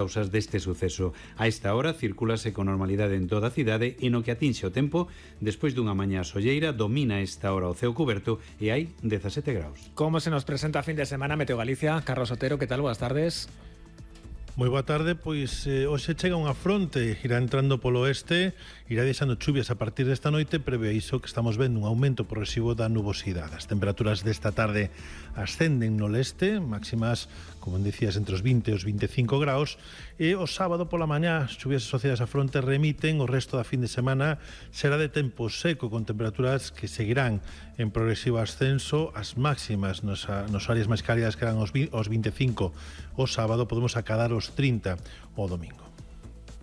causas deste suceso. A esta hora circulase con normalidade en toda a cidade e no que atinxe o tempo, despois dunha mañá solleira, domina esta hora o ceo cuberto e hai 17 graus. Como se nos presenta a fin de semana Meteo Galicia? Carlos Otero, que tal? Boas tardes. Moi boa tarde, pois hoxe chega unha fronte, irá entrando polo oeste, irá deixando chuvias a partir desta noite, preve iso que estamos vendo un aumento progresivo da nubosidade. As temperaturas desta tarde ascenden no leste, máximas, como dicías, entre os 20 e os 25 graus, e o sábado pola mañá as chuvias asociadas á fronte remiten, o resto da fin de semana será de tempo seco, con temperaturas que seguirán en progresivo ascenso. As máximas nos áreas máis cálidas que eran os 25 o sábado, podemos acadar os 30 o domingo.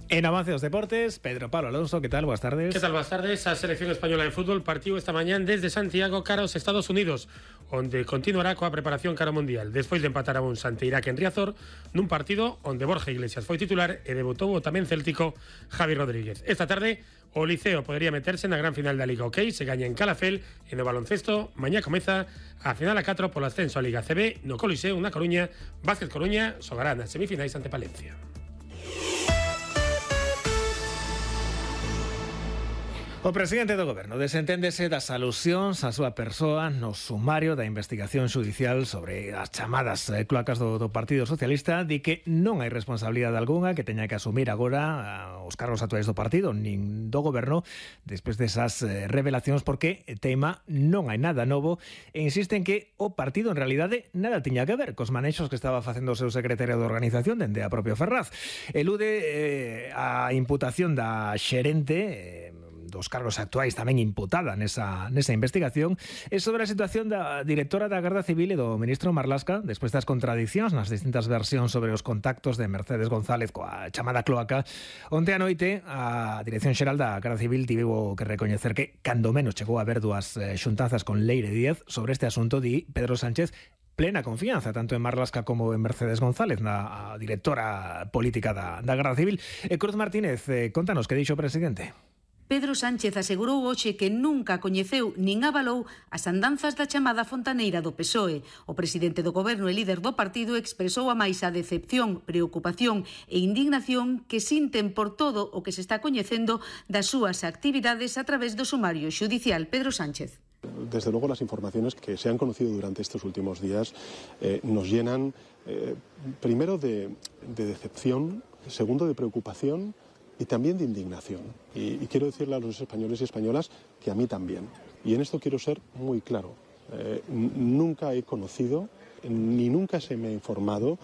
En avance dos deportes, Pedro Pablo Alonso, ¿qué tal? Boas tardes. ¿Qué tal? Boas tardes. A selección española de fútbol partió esta mañá desde Santiago cara aos Estados Unidos, onde continuará coa preparación cara ao Mundial, despois de empatar a un ante Irak en Riazor, nun partido onde Borja Iglesias foi titular e debutou o tamén céltico Javi Rodríguez. Esta tarde, o Liceo podería meterse na gran final da Liga OK, se gaña en Calafel, e no baloncesto, mañá comeza a final a 4 polo ascenso a Liga CB no Coliseo na Coruña. Vázquez Coruña xogará nas semifinais ante Palencia. O presidente do Goberno desenténdese das alusións á súa persoa no sumario da investigación xudicial sobre as chamadas cloacas do Partido Socialista. Di que non hai responsabilidade algunha que teña que asumir agora os cargos actuais do partido nin do Goberno despois desas revelacións, porque tema non hai nada novo e insiste en que o partido en realidade nada tiña que ver cos manexos que estaba facendo o seu secretario de organización dende a propia Ferraz. Elude a imputación da xerente dos cargos actuais tamén imputada nesa investigación, e sobre a situación da directora da Garda Civil e do ministro Marlaska despois das contradicións nas distintas versións sobre os contactos de Mercedes González coa chamada cloaca. Onte a noite a Dirección Xeral da Garda Civil tivo que recoñecer que cando menos chegou a haber dúas xuntanzas con Leire Díaz sobre este asunto. Di Pedro Sánchez plena confianza tanto en Marlaska como en Mercedes González, na directora política da Garda Civil. Cruz Martínez, contanos que dixo o presidente. Pedro Sánchez asegurou hoxe que nunca coñeceu nin avalou as andanzas da chamada fontaneira do PSOE. O presidente do Goberno e líder do partido expresou a máis a decepción, preocupación e indignación que sinten por todo o que se está coñecendo das súas actividades a través do sumario xudicial. Pedro Sánchez. Desde luego las informaciones que se han conocido durante estos últimos días nos llenan primero de decepción, segundo de preocupación y también de indignación. Y quiero decirle a los españoles y españolas que a mí también. Y en esto quiero ser muy claro. Nunca he conocido ni nunca se me ha informado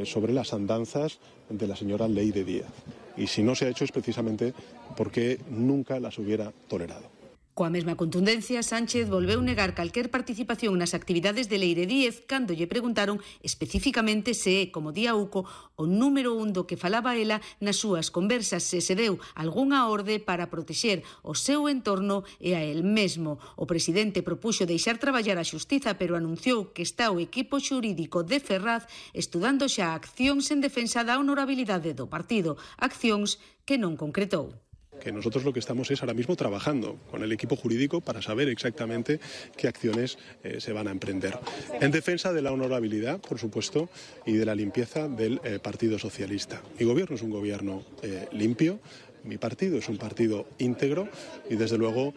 sobre las andanzas de la señora Leire Díaz. Y si no se ha hecho es precisamente porque nunca las hubiera tolerado. Coa mesma contundencia, Sánchez volveu negar calquer participación nas actividades de Leire Díez cando lle preguntaron especificamente se é, como di Auco, o número 1 do que falaba ela nas súas conversas, se deu algunha orde para protexer o seu entorno e a el mesmo. O presidente propuxo deixar traballar a xustiza, pero anunciou que está o equipo xurídico de Ferraz estudando xa accións en defensa da honorabilidade do partido, accións que non concretou. Que nosotros lo que estamos es ahora mismo trabajando con el equipo jurídico para saber exactamente qué acciones se van a emprender. En defensa de la honorabilidad, por supuesto, y de la limpieza del Partido Socialista. Mi gobierno es un gobierno limpio, mi partido es un partido íntegro y desde luego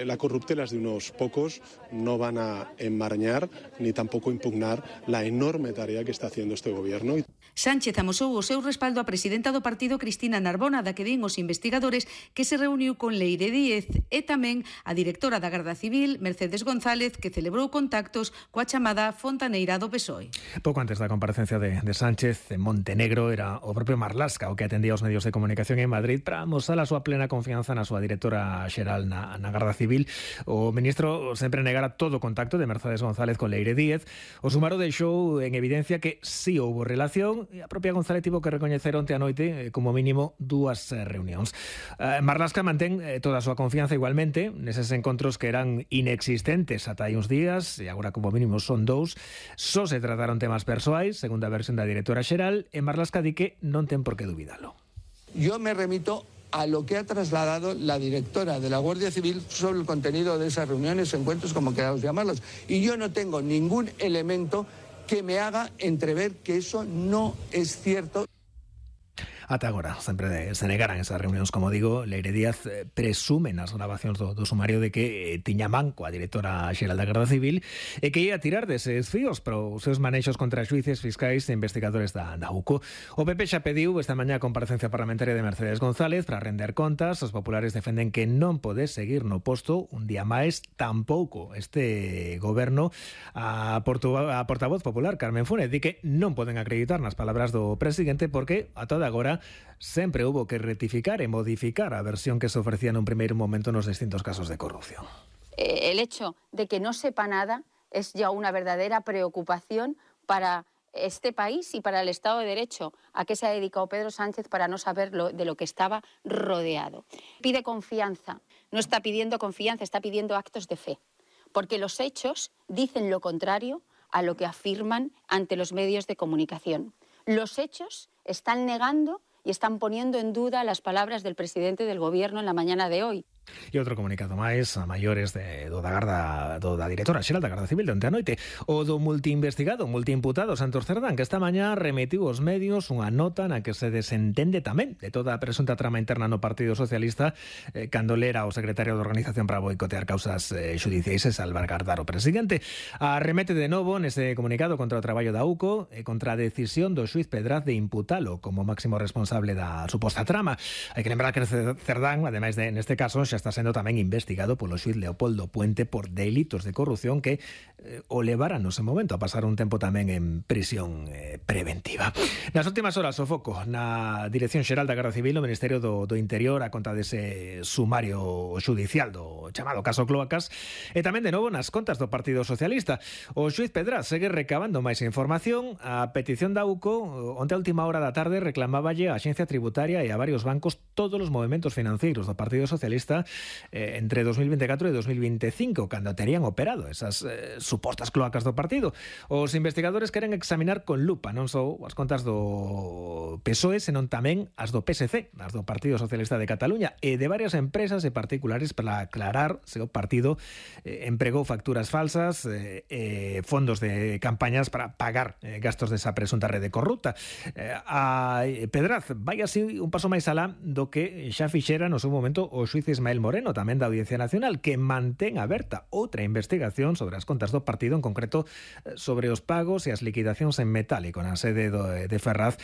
la corruptelas de unos pocos no van a enmarañar ni tampoco impugnar la enorme tarea que está haciendo este gobierno. Sánchez amosou o seu respaldo á presidenta do partido, Cristina Narbona, da que din os investigadores que se reuniu con Leire Díez, e tamén a directora da Garda Civil, Mercedes González, que celebrou contactos coa chamada fontaneira do PSOE. Pouco antes da comparecencia de Sánchez, en Montenegro era o propio Marlaska o que atendía os medios de comunicación en Madrid para mostrar a súa plena confianza na súa directora xeral na Garda Civil. O ministro sempre negara todo contacto de Mercedes González con Leire Díez. O sumaro deixou en evidencia que si houbo relación, e a propia González tivo que recoñecer onte a noite como mínimo dúas reunións. Marlaska mantén toda a súa confianza igualmente neses encontros que eran inexistentes ata hai uns días, e agora como mínimo son 2. Só se trataron temas persoais, segundo a versión da directora xeral, e Marlaska di que non ten por que dubidalo. Yo me remito a lo que ha trasladado la directora de la Guardia Civil sobre el contenido de esas reuniones, encuentros, como queramos llamarlos. Y yo no tengo ningún elemento que me haga entrever que eso no es cierto. Ata agora sempre se negaran esas reunións, como digo. Leire Díaz presume nas grabacións do sumario de que tiña manco a directora xeral da Garda Civil e que ia tirar deses fíos para os seus manexos contra xuíces, fiscais e investigadores da UCO. O PP xa pediu esta mañá a comparecencia parlamentaria de Mercedes González para render contas. Os populares defenden que non pode seguir no posto un día máis, tampouco este goberno. A portavoz popular, Carmen Funes, di que non poden acreditar nas palabras do presidente porque a toda agora sempre hubo que rectificar e modificar a versión que se ofrecía nun primeiro momento nos distintos casos de corrupción. El hecho de que no sepa nada es ya una verdadera preocupación para este país y para el Estado de Derecho. ¿A qué se ha dedicado Pedro Sánchez para no saber de lo que estaba rodeado? Pide confianza, no está pidiendo confianza, está pidiendo actos de fe, porque los hechos dicen lo contrario a lo que afirman ante los medios de comunicación. Los hechos están negando y están poniendo en duda las palabras del presidente del Gobierno en la mañana de hoy. E outro comunicado máis a maiores da directora xeral da Garda Civil de onte a noite. O do multiimputado Santos Cerdán, que esta mañá remitiu aos medios unha nota na que se desentende tamén de toda a presunta trama interna no Partido Socialista cando lera o secretario de Organización para boicotear causas xudiciais e salvaguardar o presidente. Arremete de novo nese comunicado contra o traballo da UCO e contra a decisión do xuiz Pedraz de imputalo como máximo responsable da suposta trama. Hai que lembrar que Cerdán, ademais de neste caso, xa está sendo tamén investigado polo xuiz Leopoldo Puente por delitos de corrupción que o levaran no ese momento a pasar un tempo tamén en prisión preventiva. Nas últimas horas o foco na Dirección Xeral da Garda Civil, no Ministerio do Interior, a conta dese sumario xudicial do chamado caso Cloacas, e tamén de novo nas contas do Partido Socialista. O xuiz Pedraz segue recabando máis información. A petición da UCO onte a última hora da tarde reclamáballe a Axencia Tributaria e a varios bancos todos os movementos financeiros do Partido Socialista entre 2024 e 2025, cando terían operado esas supostas cloacas do partido. Os investigadores queren examinar con lupa non só as contas do PSOE, senón tamén as do PSC, as do Partido Socialista de Cataluña, e de varias empresas e particulares para aclarar se o partido empregou facturas falsas e fondos de campañas para pagar gastos desa presunta rede corrupta. A Pedraz vai así un paso máis alá do que xa fixera no seu momento o xuiz Ismael Moreno, tamén da Audiencia Nacional, que mantén aberta outra investigación sobre as contas do partido, en concreto sobre os pagos e as liquidacións en metálico na sede de Ferraz,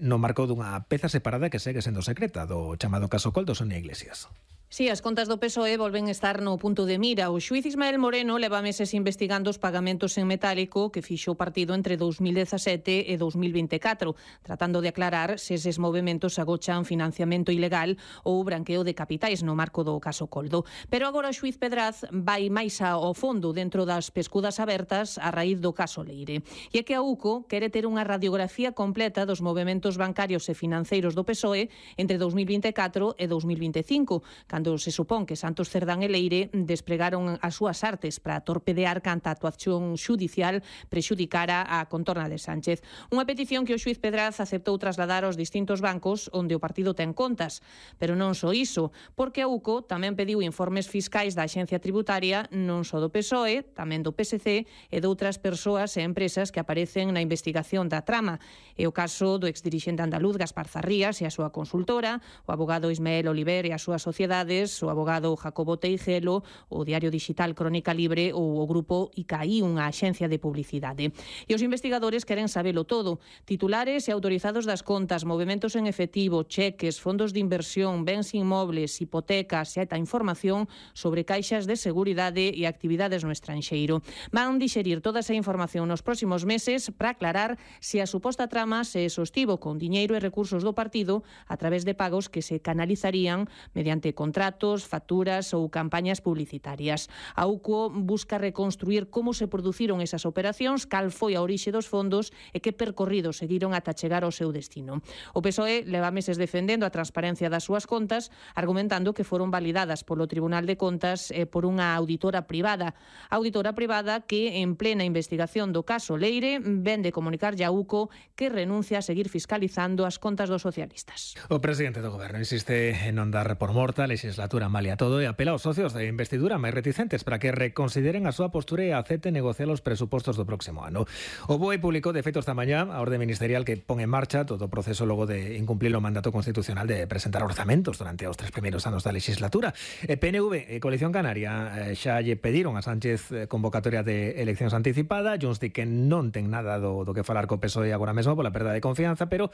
no marco dunha peza separada que segue sendo secreta do chamado caso Coldo, Sonia Iglesias. Sí, as contas do PSOE volven estar no punto de mira. O xuiz Ismael Moreno leva meses investigando os pagamentos en metálico que fixo o partido entre 2017 e 2024, tratando de aclarar se eses movementos agochan financiamento ilegal ou branqueo de capitais no marco do caso Coldo. Pero agora o xuiz Pedraz vai máis ao fondo dentro das pescudas abertas a raíz do caso Leire. E é que a UCO quere ter unha radiografía completa dos movementos bancarios e financeiros do PSOE entre 2024 e 2025, cando se supón que Santos Cerdán e Leire despregaron as súas artes para torpedear canta a actuación xudicial prexudicara a contorna de Sánchez. Unha petición que o xuiz Pedraz aceptou trasladar aos distintos bancos onde o partido ten contas. Pero non só iso, porque a UCO tamén pediu informes fiscais da Axencia Tributaria non só do PSOE, tamén do PSC e de outras persoas e empresas que aparecen na investigación da trama. É o caso do exdirixente andaluz Gaspar Zarrías e a súa consultora, o abogado Ismael Oliver e a súa sociedade, o abogado Jacobo Teijelo, o diario digital Crónica Libre ou o grupo ICAI, unha axencia de publicidade. E os investigadores queren sabelo todo. Titulares e autorizados das contas, movementos en efectivo, cheques, fondos de inversión, bens inmobles, hipotecas e ata información sobre caixas de seguridade e actividades no estranxeiro. Van dixerir toda esa información nos próximos meses para aclarar se a suposta trama se sostivo con diñeiro e recursos do partido a través de pagos que se canalizarían mediante contratos, facturas ou campañas publicitarias. A UCO busca reconstruir como se produciron esas operacións, cal foi a orixe dos fondos e que percorrido seguiron ata chegar ao seu destino. O PSOE leva meses defendendo a transparencia das súas contas, argumentando que foron validadas polo Tribunal de Contas e por unha auditora privada. Auditora privada que, en plena investigación do caso Leire, ven de comunicar a UCO que renuncia a seguir fiscalizando as contas dos socialistas. O presidente do Goberno insiste en non dar por morta a legislatura malia todo e apela aos socios de investidura máis reticentes para que reconsideren a súa postura e acepten negociar os presupostos do próximo ano. O BOE publicou de feito esta mañá a orde ministerial que pon en marcha todo o proceso logo de incumplir o mandato constitucional de presentar orzamentos durante os 3 primeiros anos da legislatura. PNV e Coalición Canaria xa lle pediron a Sánchez convocatoria de eleccións anticipada. Junts di que non ten nada do que falar co PSOE agora mesmo pola perda de confianza, pero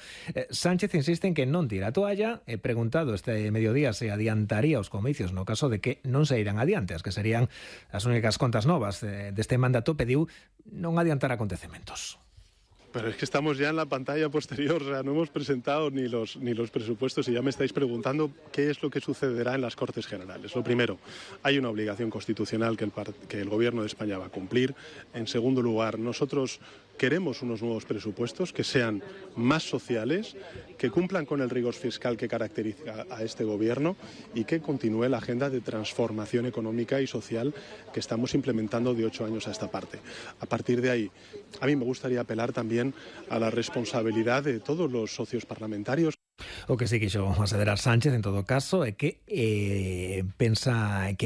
Sánchez insiste en que non tira a toalla. He preguntado este mediodía se adiantaría os comicios no caso de que non se irán adiante, as que serían as únicas contas novas deste mandato. Pediu non adiantar acontecementos. Pero es que estamos ya en la pantalla posterior, o sea, no hemos presentado ni los presupuestos y ya me estáis preguntando qué es lo que sucederá en las Cortes Generales. Lo primero, hay una obligación constitucional que el Gobierno de España va a cumplir. En segundo lugar, nosotros queremos unos nuevos presupuestos que sean más sociales, que cumplan con el rigor fiscal que caracteriza a este Gobierno y que continúe la agenda de transformación económica y social que estamos implementando de 8 años a esta parte. A partir de ahí, a mí me gustaría apelar también a la responsabilidad de todos los socios parlamentarios. O que sí quixo aseverar Sánchez, en todo caso, é que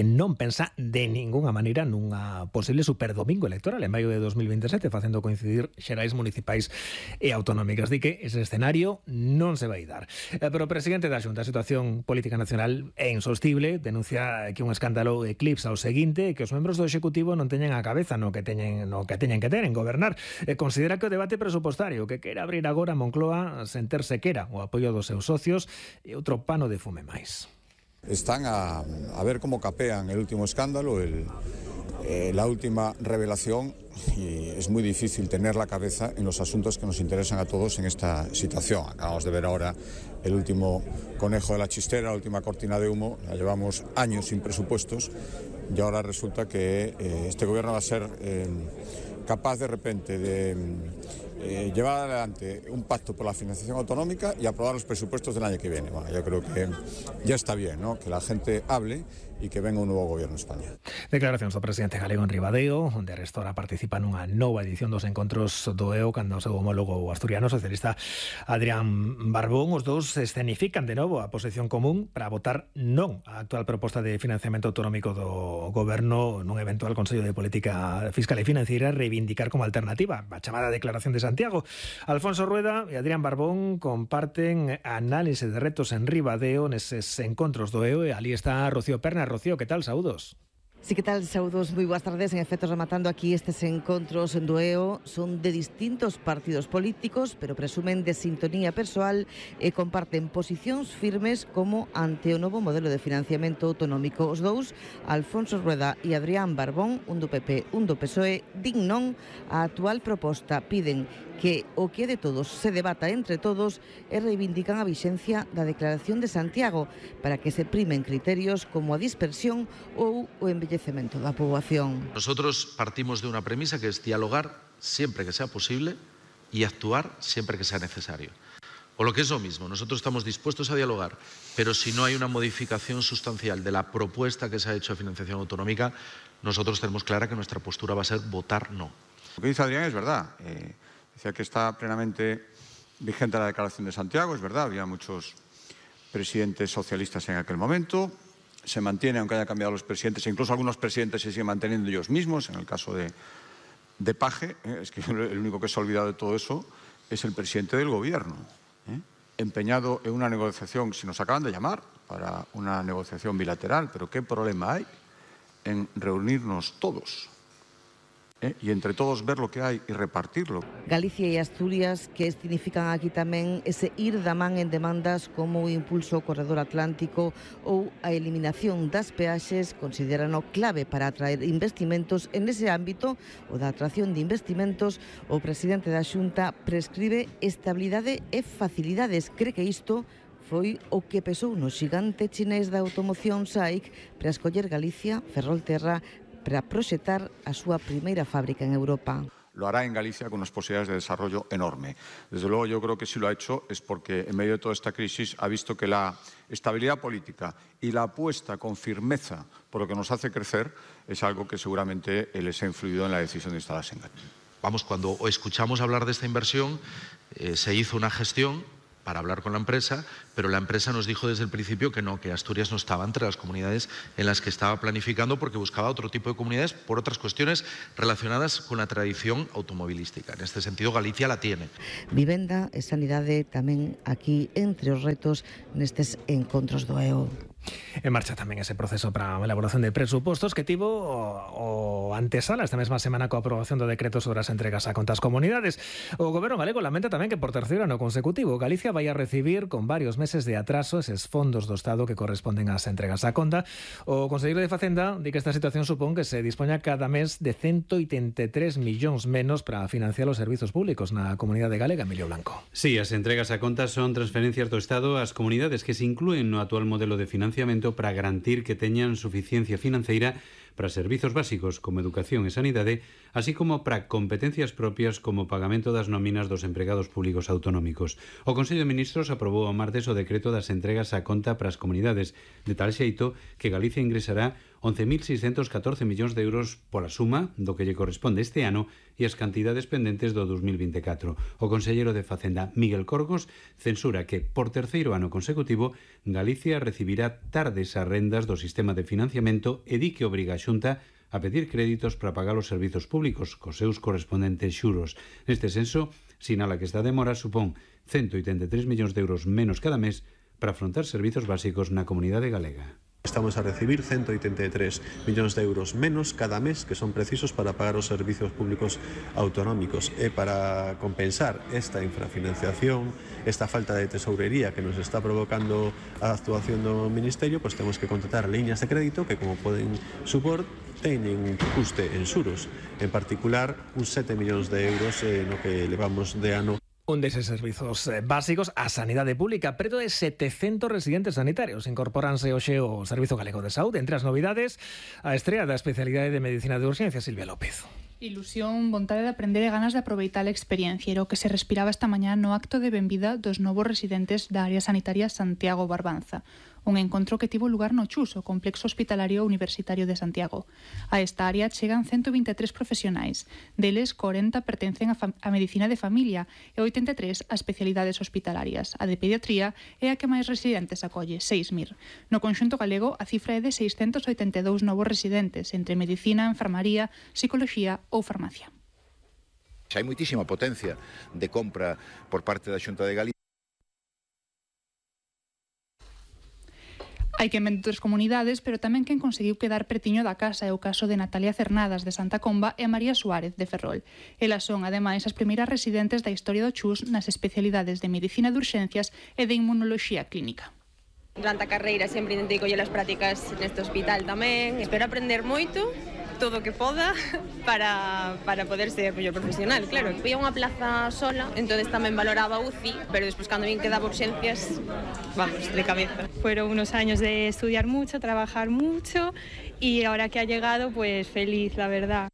non pensa de ningunha maneira nunha posible superdomingo electoral en maio de 2027, facendo coincidir xerais municipais e autonómicas. Di que ese escenario non se vai dar. Pero o presidente da Xunta, a situación política nacional é insostible, denuncia que un escándalo eclipsa o seguinte, que os membros do Executivo non teñen a cabeza no que teñen que ter en gobernar. Considera que o debate presupostario que quere abrir agora Moncloa sen ter sequera o apoio dos seus socios e outro pano de fume máis. Están a ver cómo capean el último escándalo, la última revelación, y es muy difícil tener la cabeza en los asuntos que nos interesan a todos en esta situación. Acabamos de ver ahora el último conejo de la chistera, la última cortina de humo. Ya llevamos años sin presupuestos y ahora resulta que este gobierno va a ser capaz de repente de llevar adelante un pacto por la financiación autonómica y aprobar los presupuestos del año que viene. Bueno, yo creo que ya está bien, ¿no?, que la gente hable e que venga un novo goberno en España. Declaracións do presidente galego en Ribadeo, onde arestora participa nunha nova edición dos encontros do EO cando o seu homólogo asturiano socialista Adrián Barbón. Os dous escenifican de novo a posición común para votar non a actual proposta de financiamento autonómico do goberno nun eventual Consello de Política Fiscal e Financiera, reivindicar como alternativa a chamada Declaración de Santiago. Alfonso Rueda e Adrián Barbón comparten análise de retos en Ribadeo neses encontros do EO e ali está Rocío Perna. Rocío, ¿qué tal? Saúdos. Sí, ¿qué tal? Saúdos, moi boas tardes. En efecto, rematando aquí estes encontros en Doeo, son de distintos partidos políticos, pero presumen de sintonía persoal e comparten posicións firmes como ante o novo modelo de financiamento autonómico. Os dous, Alfonso Rueda e Adrián Barbón, un do PP, un do PSOE, din non a actual proposta. Piden que o que é de todos se debata entre todos e reivindican a vixencia da Declaración de Santiago para que se primen criterios como a dispersión ou o envellecemento da poboación. Nosotros partimos de una premisa que es dialogar siempre que sea posible y actuar siempre que sea necesario. O lo que es lo mismo, nosotros estamos dispuestos a dialogar, pero si no hay una modificación sustancial de la propuesta que se ha hecho de financiación autonómica, nosotros tenemos clara que nuestra postura va a ser votar no. Lo que dice Adrián es verdad. Decía que está plenamente vigente la Declaración de Santiago, es verdad, había muchos presidentes socialistas en aquel momento, se mantiene aunque haya cambiado los presidentes, e incluso algunos presidentes se siguen manteniendo ellos mismos, en el caso de Paje, es que el único que se ha olvidado de todo eso es el presidente del gobierno, empeñado en una negociación, si nos acaban de llamar para una negociación bilateral, pero ¿qué problema hay en reunirnos todos? Y entre todos ver lo que hai e repartirlo. Galicia e Asturias que significan aquí tamén ese ir da man en demandas como o impulso ao corredor atlántico ou a eliminación das peaxes, considerano clave para atraer investimentos en ese ámbito, o da atracción de investimentos. O presidente da Xunta prescribe estabilidade e facilidades. Cree que isto foi o que pesou no xigante chinés da automoción SAIC para escoller Galicia, Ferrolterra, para proxectar a súa primeira fábrica en Europa. Lo hará en Galicia con unas posibilidades de desarrollo enorme. Desde luego yo creo que si lo ha hecho es porque en medio de toda esta crisis ha visto que la estabilidad política y la apuesta con firmeza por lo que nos hace crecer es algo que seguramente les ha influido en la decisión de instalarse en Galicia. Vamos, cuando escuchamos hablar de esta inversión, se hizo una gestión para hablar con la empresa, pero la empresa nos dijo desde el principio que no, que Asturias no estaba entre las comunidades en las que estaba planificando porque buscaba otro tipo de comunidades por otras cuestiones relacionadas con la tradición automovilística. En este sentido, Galicia la tiene. Vivenda e sanidade tamén aquí entre os retos nestes encontros do EO. En marcha tamén ese proceso para a elaboración de presupostos que tivo o antesala esta mesma semana coa aprobación do decreto sobre as entregas a contas comunidades. O Goberno galego lamenta tamén que por terceiro ano consecutivo Galicia vai a recibir con varios meses de atraso eses fondos do Estado que corresponden ás entregas á conta. O conselleiro de Facenda di que esta situación supón que se dispoña cada mes de 183 millóns menos para financiar os servizos públicos na comunidade galega. Emilio Blanco. Sí, as entregas a contas son transferencias do Estado ás comunidades que se inclúen no actual modelo de financiamento para garantir que teñan suficiencia financeira para servizos básicos como educación e sanidade, así como para competencias propias como o pagamento das nóminas dos empregados públicos autonómicos. O Consello de Ministros aprobou o martes o decreto das entregas á conta para as comunidades, de tal xeito que Galicia ingresará 11.614 millóns de euros pola suma do que lle corresponde este ano e as cantidades pendentes do 2024. O conselleiro de Facenda, Miguel Corgos, censura que, por terceiro ano consecutivo, Galicia recibirá tardes as rendas do sistema de financiamento e di que obriga a Xunta a pedir créditos para pagar os servizos públicos cos seus correspondentes xuros. Neste senso, sinala que esta demora supón 183 millóns de euros menos cada mes para afrontar servizos básicos na comunidade galega. Estamos a recibir 183 millóns de euros menos cada mes que son precisos para pagar os servizos públicos autonómicos e para compensar esta infrafinanciación, esta falta de tesourería que nos está provocando a actuación do Ministerio, pues temos que contratar liñas de crédito que, como poden supor, teñen un custe en xuros, en particular uns 7 millóns de euros no que levamos de ano. Un deses servizos básicos a sanidade pública. Preto de 700 residentes sanitarios incorporanse hoxe ao Servizo Galego de Saúde. Entre as novidades, a estrea da especialidade de Medicina de Urxencia, Silvia López. Ilusión, vontade de aprender e ganas de aproveitar a experiencia era o que se respiraba esta mañá no acto de benvida dos novos residentes da área sanitaria Santiago Barbanza. Un encontro que tivo lugar no CHUS, o Complexo Hospitalario Universitario de Santiago. A esta área chegan 123 profesionais. Deles, 40 pertencen a Medicina de Familia e 83 a especialidades hospitalarias. A de Pediatría é a que máis residentes acolle, 6.000. No conxunto galego, a cifra é de 682 novos residentes, entre Medicina, Enfermaría, Psicoloxía ou Farmacia. Xa hai moitísima potencia de compra por parte da Xunta de Galicia. Hai quen vende outras comunidades, pero tamén quen conseguiu quedar pretiño da casa é o caso de Natalia Cernadas, de Santa Comba, e María Suárez, de Ferrol. Elas son, ademais, as primeiras residentes da historia do CHUS nas especialidades de Medicina de Urxencias e de Inmunoloxía Clínica. Durante a carreira sempre intentei coller as prácticas neste hospital tamén. Espero aprender moito, todo o que poda, para poder ser mellor profesional, claro. Fui a unha plaza sola, entonces tamén valoraba UCI, pero despois cando vin que daba urxencias, vamos, de cabeza. Fueron unos años de estudiar mucho, trabajar mucho y ahora que ha llegado, pues feliz, la verdad.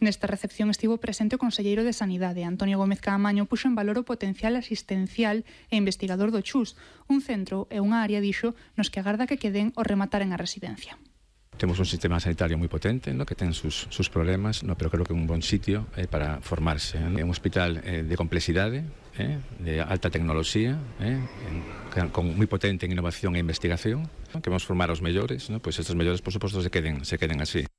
Nesta recepción estivo presente o conselleiro de Sanidade, Antonio Gómez Caamaño, puxo en valor o potencial asistencial e investigador do CHUS, un centro e unha área, dixo, nos que agarda que queden o remataren a residencia. Temos un sistema sanitario moi potente, ¿no?, que ten sus problemas, ¿no?, pero creo que é un bon sitio para formarse. É un hospital de complexidade, de alta tecnoloxía, con moi potente en innovación e investigación, ¿no?, que vamos formar aos mellores, ¿no?, pois estes mellores, por suposto, se queden así.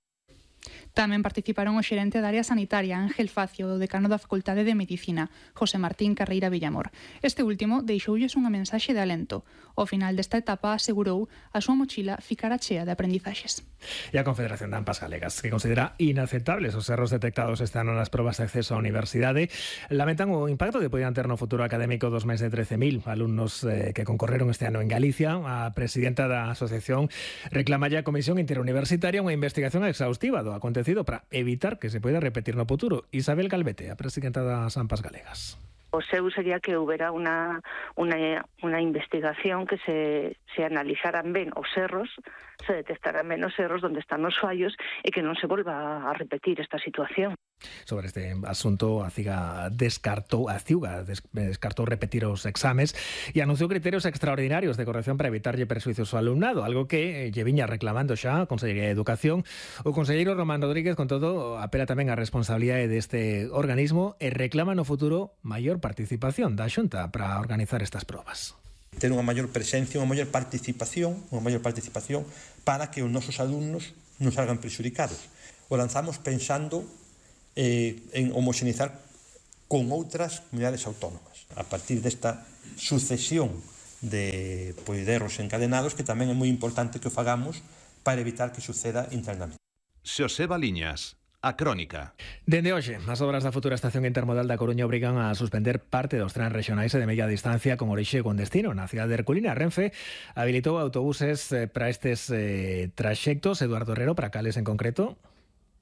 Tamén participaron o xerente da área sanitaria, Ángel Facio, o decano da Facultade de Medicina, José Martín Carreira Villamor. Este último deixoulles unha mensaxe de alento. Ao final desta etapa, asegurou, a súa mochila ficará chea de aprendizaxes. E a Confederación de AMPAs Galegas, que considera inaceptables os erros detectados este ano nas probas de acceso á universidade, lamentan o impacto que poden ter no futuro académico dos máis de 13.000 alumnos que concorreron este ano en Galicia. A presidenta da asociación reclama a Comisión Interuniversitaria unha investigación exhaustiva do acontecido para evitar que se poida repetir no futuro. Isabel Calvete, a presidenta das AMPAs Galegas. O seu sería que houbera unha investigación que se analizaran ben os erros, se detectaran ben os erros onde están os fallos e que non se volva a repetir esta situación. Sobre este asunto, a CIUGA descartou repetir os exames e anunciou criterios extraordinarios de corrección para evitarlle persuicios ao alumnado, algo que lle viña reclamando xa a Consellería de Educación. O conselleiro Román Rodríguez, con todo, apela tamén á responsabilidade deste organismo e reclama no futuro maior participación da Xunta para organizar estas probas. Ter unha maior presencia, unha maior participación para que os nosos alumnos non salgan prexudicados. O lanzamos pensando en homoxenizar con outras comunidades autónomas a partir desta sucesión de erros encadenados, que tamén é moi importante que o fagamos para evitar que suceda internamente. Xoseba Liñas, a Crónica. Dende hoxe, as obras da futura estación intermodal da Coruña obrigan a suspender parte dos trens rexionais e de media distancia con orixe e con destino na cidade de Herculina. Renfe habilitou autobuses para estes traxectos. Eduardo Herrero, para cales en concreto?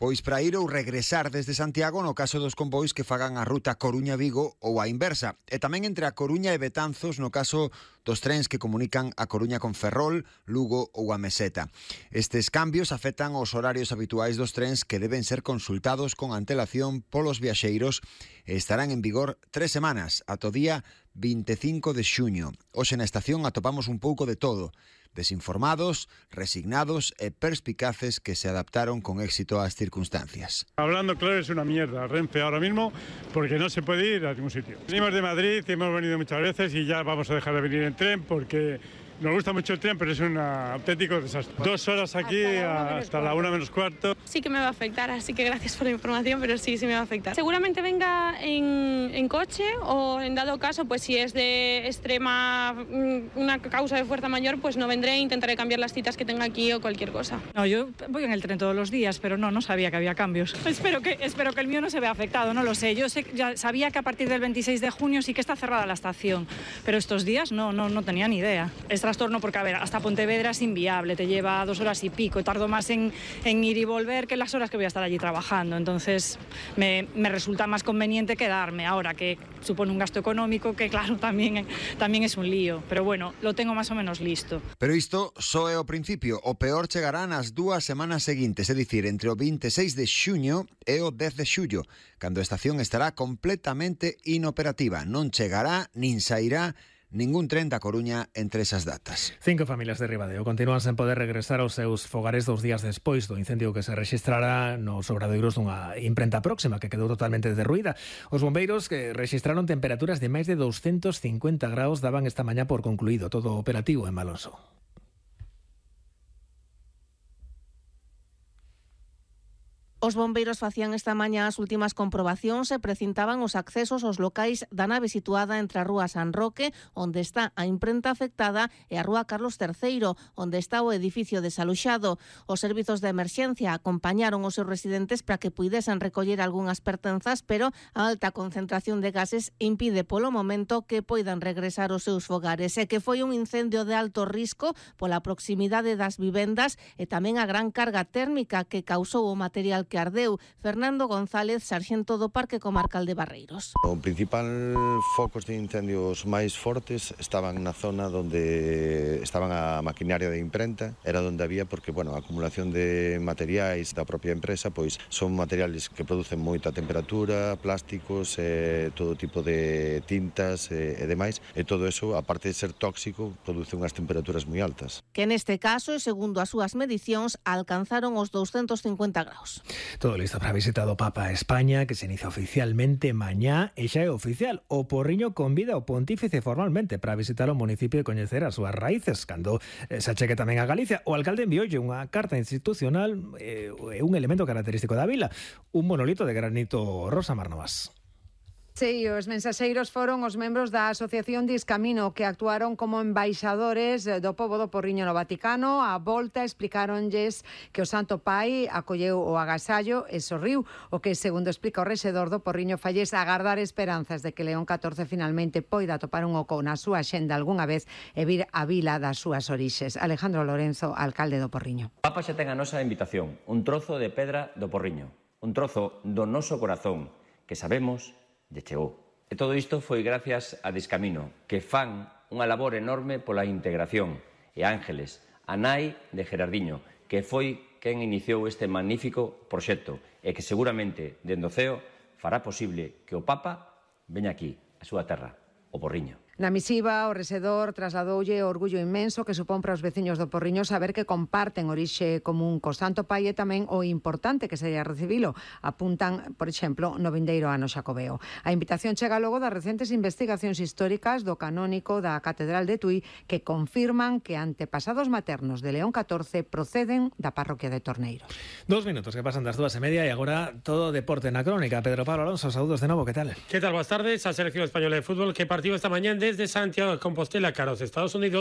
Pois para ir ou regresar desde Santiago no caso dos convois que fagan a ruta Coruña-Vigo ou a inversa. E tamén entre a Coruña e Betanzos no caso dos trens que comunican a Coruña con Ferrol, Lugo ou a Meseta. Estes cambios afectan os horarios habituais dos trens que deben ser consultados con antelación polos viaxeiros e estarán en vigor 3 semanas, ata o día 25 de xuño. Hoxe na estación atopamos un pouco de todo. Desinformados, resignados e perspicaces que se adaptaron con éxito ás circunstancias. Hablando claro, es una mierda Renfe ahora mismo porque no se puede ir a ningún sitio. Venimos de Madrid y hemos venido muchas veces y ya vamos a dejar de venir en tren porque nos gusta mucho el tren, pero es un auténtico desastre. 2 horas aquí hasta la 1 menos cuarto. Sí que me va a afectar, así que gracias por la información, pero sí me va a afectar. Seguramente venga en coche o en dado caso, pues si es de extrema, una causa de fuerza mayor, pues no vendré, intentaré cambiar las citas que tenga aquí o cualquier cosa. No, yo voy en el tren todos los días, pero no sabía que había cambios. Espero que el mío no se vea afectado, no lo sé. Yo ya sabía que a partir del 26 de junio sí que está cerrada la estación, pero estos días no tenía ni idea. Es trastorno porque, a ver, hasta Pontevedra es inviable, te lleva 2 horas y pico, tardo más en ir y volver que las horas que voy a estar allí trabajando, entonces me resulta más conveniente quedarme ahora, que supone un gasto económico que claro, tamén es un lío, pero bueno, lo tengo más o menos listo. Pero isto só é o principio, o peor chegará nas 2 semanas seguintes, é dicir, entre o 26 de xuño e o 10 de xullo, cando a estación estará completamente inoperativa, non chegará nin sairá ningún tren da Coruña entre esas datas. 5 familias de Ribadeo continúan sen poder regresar aos seus fogares 2 días despois do incendio que se rexistrara nos obradoiros dunha imprenta próxima que quedou totalmente derruída. Os bombeiros que rexistraron temperaturas de máis de 250 graus daban esta mañá por concluído todo o operativo en Malonso. Os bombeiros facían esta mañá as últimas comprobacións e precintaban os accesos aos locais da nave situada entre a rúa San Roque, onde está a imprenta afectada, e a rúa Carlos III, onde está o edificio desaloxado. Os servizos de emerxencia acompañaron os seus residentes para que puidesen recoller algunhas pertenzas, pero a alta concentración de gases impide polo momento que poidan regresar aos seus fogares. E que foi un incendio de alto risco pola proximidade das vivendas e tamén a gran carga térmica que causou o material que ardeu. Fernando González, sarxento do Parque Comarcal de Barreiros. O principal focos de incendios máis fortes estaban na zona onde estaban a maquinaria de imprenta, era onde había porque, a acumulación de materiais da propia empresa, pois son materiales que producen moita temperatura, plásticos, todo tipo de tintas e demais, e todo eso, aparte de ser tóxico, produce unhas temperaturas moi altas. Que neste caso, segundo as súas medicións, alcanzaron os 250 graus. Todo listo para a visita do Papa a España, que se inicia oficialmente mañá, e xa é oficial. O Porriño convida ao pontífice formalmente para visitar o municipio e coñecer as súas raíces, cando se achegue tamén a Galicia. O alcalde envioulle unha carta institucional e un elemento característico da vila, un monolito de granito rosa. Marnovas. Sí, os mensaxeiros foron os membros da Asociación Discamino que actuaron como embaixadores do pobo do Porriño no Vaticano. A volta explicaronlles que o Santo Pai acolleu o agasallo e sorriu, o que, segundo explica o rexedor do Porriño, falles agardar esperanzas de que León XIV finalmente poida topar un oco na súa xenda algunha vez e vir a vila das súas orixes. Alejandro Lorenzo, alcalde do Porriño. O Papa xa ten a nosa invitación, un trozo de pedra do Porriño, un trozo do noso corazón que sabemos lle chegou. E todo isto foi gracias a Discamino, que fan unha labor enorme pola integración, e Ángeles, a nai de Gerardiño, que foi quen iniciou este magnífico proxecto e que seguramente, dende o ceo, fará posible que o Papa veña aquí, a súa terra, o Porriño. Na misiva, o rexedor trasladoulle o orgullo inmenso que supón para os veciños do Porriño saber que comparten orixe común co Santo Pai e tamén o importante que sería recibilo. Apuntan, por exemplo, no vindeiro ano xacobeo. A invitación chega logo das recentes investigacións históricas do canónico da Catedral de Tui que confirman que antepasados maternos de León XIV proceden da parroquia de Torneiro. 2 minutos que pasan das 2:30 e agora todo deporte na crónica. Pedro Pablo Alonso, saúdos de novo, que tal? ¿Qué tal? Buenas tardes. A selección española de fútbol que partió esta mañana desde Santiago de Compostela cara aos Estados Unidos